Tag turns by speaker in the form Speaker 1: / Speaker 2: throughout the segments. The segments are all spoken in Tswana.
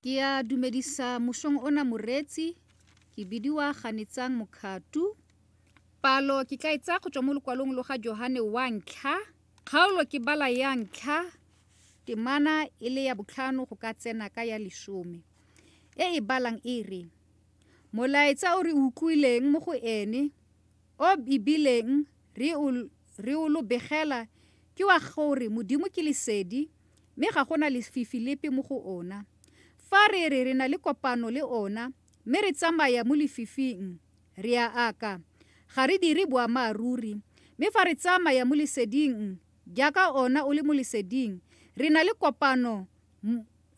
Speaker 1: Ke a dumedisa mosong ona moreetsi, ke bidiwa Ganetsang Mokhatu. Palo ke tla e tsaya go tswa mo lokwalong lo ga Johane wa ntlha, kgaolo ke bala ya ntlha, temana e le ya botlhano go ka tsena ka ya lesome. E e balang e re, Molaetsa o re utlwileng mo go ene, o ebileng re o re o lo begela ke wa gore Modimo ke lesedi mme ga go na lefifi lepe mo go ona. Fa re re re na le kopano le ona mme re tsamaya mo lefifing, re a aka, ga re dire boammaaruri. Mme fa re tsamaya mo leseding, jaaka ona o le mo leseding, re na le kopano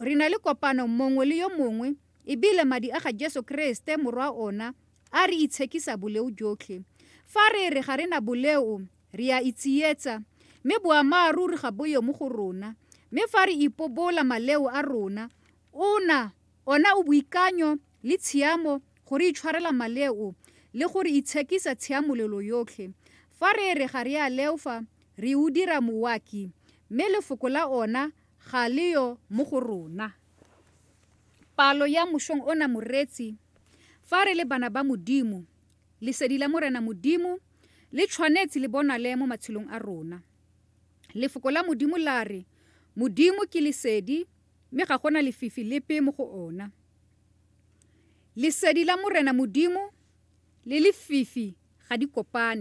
Speaker 1: re na le kopano mongwe le yo mongwe, ebile madi a ga Jesu Kreste morwa ona a re itshekisa boleo jotlhe. Fa re re ga re na boleo, re a itsietsa, mme boammaaruri ga bo yo mo go rona. Mme fa re ipobola maleo a rona, ona ona o boikanyo le tshiamo go re itshwarela maleo le go re itshekisa tshiamololo yotlhe. Fa re re ga re a leofa, re o dira moaki, mme lefoko la ona ga le yo mo go rona. Palo ya mosong ona moreetsi, fa re le bana ba Modimo, lesedi la Morena Modimo le tshwanetse le bonale mo matshelong a rona. Lefoko la Modimo la re, Modimo ke lesedi, mme ga gona lefifi lepe mo go ona. Lesedi la Morena Modimo le lefifi ga di kopane.